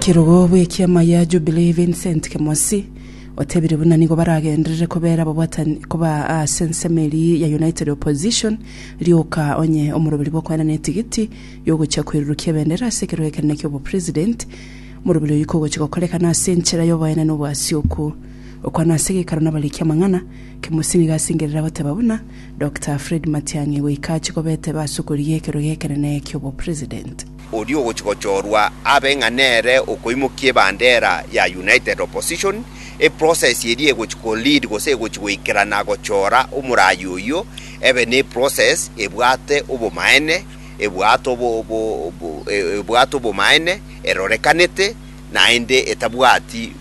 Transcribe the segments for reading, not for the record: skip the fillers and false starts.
Kerogo bw'ekiama ya Jubilee Vincent Kemosi otebire buna nigo baragenderere kobera ababwatani koba ase ensemo eria ya United Opposition rioka onye omoroberi bw'okoenana etigiti yogochia koirurukia ebendera ase ekerogo ekenene ki'obopresident. Omoroberi oyio kogochia gokorekana ase enchera y'oboenenu obwasioku. Okwana ase egeikaro nabariki amang'ana, Kemosi nigo asengerire agoteba buna Doctor Fred Matiang'i goika achie kobeteba ase okorigia ekerogo ekenene ki'obopresident. Oria ogochia gochorwa abe ng'a nere okoimokia ebandera ya United Opposition, eprocess eria egochia ko lead gose egochia goikerana gochora omoraai oyio ebe ne eprocess ebwate obomaene, ebwate ebwate obomaene, erorekanete naende etabwati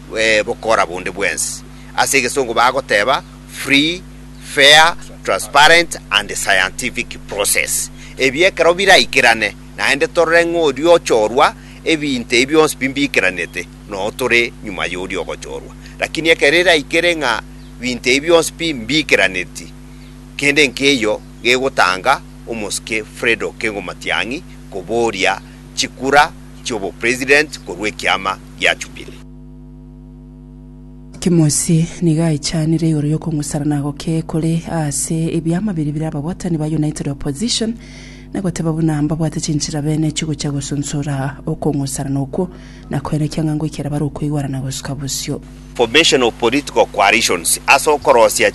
bokora bonde bwensi. Ase egesongo bagoteba free, fair, transparent and scientific process. Ebi ekero biraikerane, Naende torore ng'a oria ochorwa, ebinto ebi bionsi pi mbikeranete, noo tore nyuma y'oria ogochorwa. Lakini ekero eraikere ng'a binto ebi bionsi pi mbikeraneti, kende nkeiyo gegotanga omosike Fred Okengo Matiang'i koboria chikura chi'obopresident korwa ekiama gia Jubilee. Kimosi nigo aichanire igoro y'okong'usarana goke kore ase ebiama biria bire ababwatani ba United Opposition na goteba buna mbabwate chinchera bene chigochia gosunsura okong'usarana okwo na koenekia ng'a ngoikera bare okoigwana na gosuka bosio. Formation of political coalitions ase okorosia.